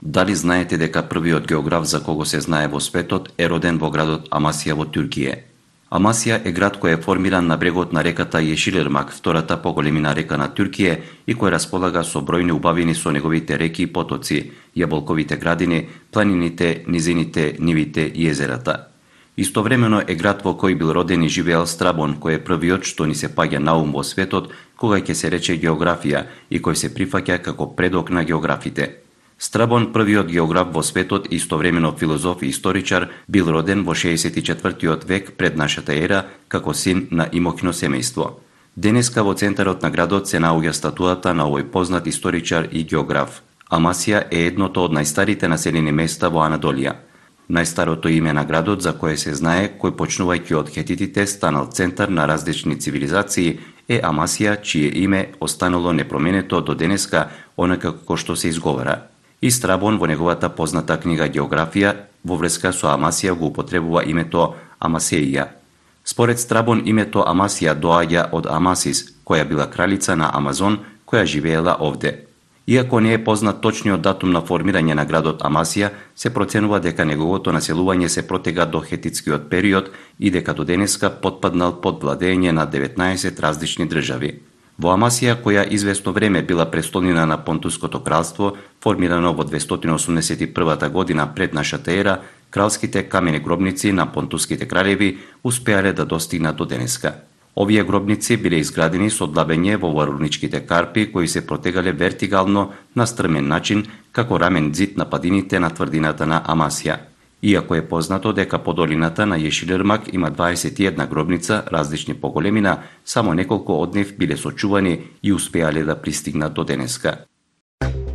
Дали знаете дека првиот географ за кого се знае во светот е роден во градот Амасија во Туркија? Амасија е град кој е формиран на брегот на реката Јешилирмак, втората по големина река на Туркија и кој располага со бројни убавини со неговите реки и потоци, јаболковите градини, планините, низините, нивите и езерата. Истовремено е град во кој бил роден и живеел Страбон, кој е првиот што ни се паѓа на ум во светот кога ќе се рече географија и кој се прифаќа како предок на географите. Страбон, првиот географ во светот и истовремено филозоф и историчар, бил роден во 64 век пред нашата ера како син на имокно семејство. Денеска во центарот на градот се наоѓа статуата на овој познат историчар и географ. Амасија е едното од најстарите населени места во Анадолија. Најстарото име на градот за кое се знае, кој почнувајќи од хетитите станал центар на различни цивилизации, е Амасија, чие име останало непроменето до денеска, онака како што се изговара. И Страбон во неговата позната книга Географија во врска со Амасија го употребува името Амасеија. Според Страбон името Амасија доаѓа од Амасис, која била кралица на Амазон, која живеела овде. Иако не е познат точниот датум на формирање на градот Амасија, се проценува дека неговото населување се протега до хетитскиот период и дека до денеска потпаднал под владење на 19 различни држави. Во Амасија, која известно време била престолнина на Понтуското кралство, формирано во 281 година пред нашата ера, кралските камени гробници на понтуските кралеви успеале да достигнат до денеска. Овие гробници биле изградени со длабење во варурничките карпи кои се протегале вертикално на стрмен начин како рамен ѕид на падините на тврдината на Амасија. Иако е познато дека по долината на Јешилирмак има 21 гробница различни по големина, само неколку од нив биле сочувани и успеале да пристигнат до денеска.